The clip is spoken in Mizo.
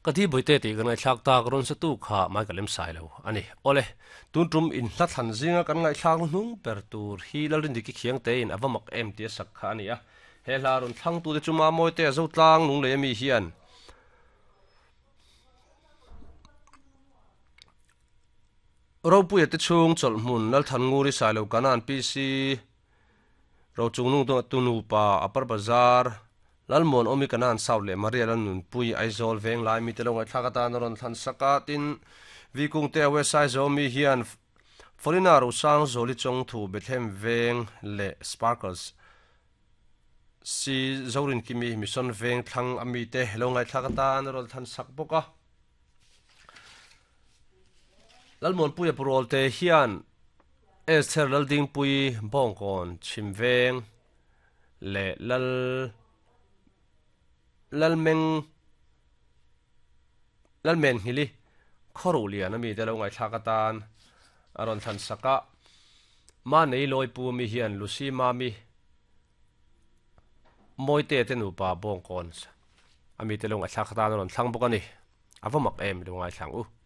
Ka thi Bawihte tih kan ngaihthlak tak rawn sa tu kha mai ka lem sai lo a ni. Awle, tun tum in hla thlan zinga kan ngaihthlak hnung ber tur hi Lalrindiki Khiangtein a va mak em tih a sak kha a ni a. He hla rawn thlang tute chu Mamawite a Zotlang lunglei ami hian Ropuia te chhung chawlhhmun Lalthannguri Sailo Kanan PC Rochungnung tu nupa Upper Bazar Lalmuan Awmi Kanan South leh Maria Lalnunpui Aizawl Venglai mite lo ngaihthlak atan a rawn thlan sak a, tin Vikungte a West Aizawl mi hian Folina Rosang Zawli Chawngthu Bethlehem Veng leh Sparkles Si Zorinkimi Mission Veng thlang a mite lo ngaihthlak atan a rawn thlan sak bawk a. Lalmuanpuia Purawlte hian Esther Laldingpui Bawngkawn Chhimveng leh Lal Lalmeng Lalmenghili Khawruhlian a mite lo ngaihthlak atan a rawn thlan sak a. Manei Lawipu mi hian Lucy Mami Mawite te nupa Bawngkawn a mite lo ngaihthlak atan a rawn thlang bawk a ni. A va mak em i lo ngaithlang u.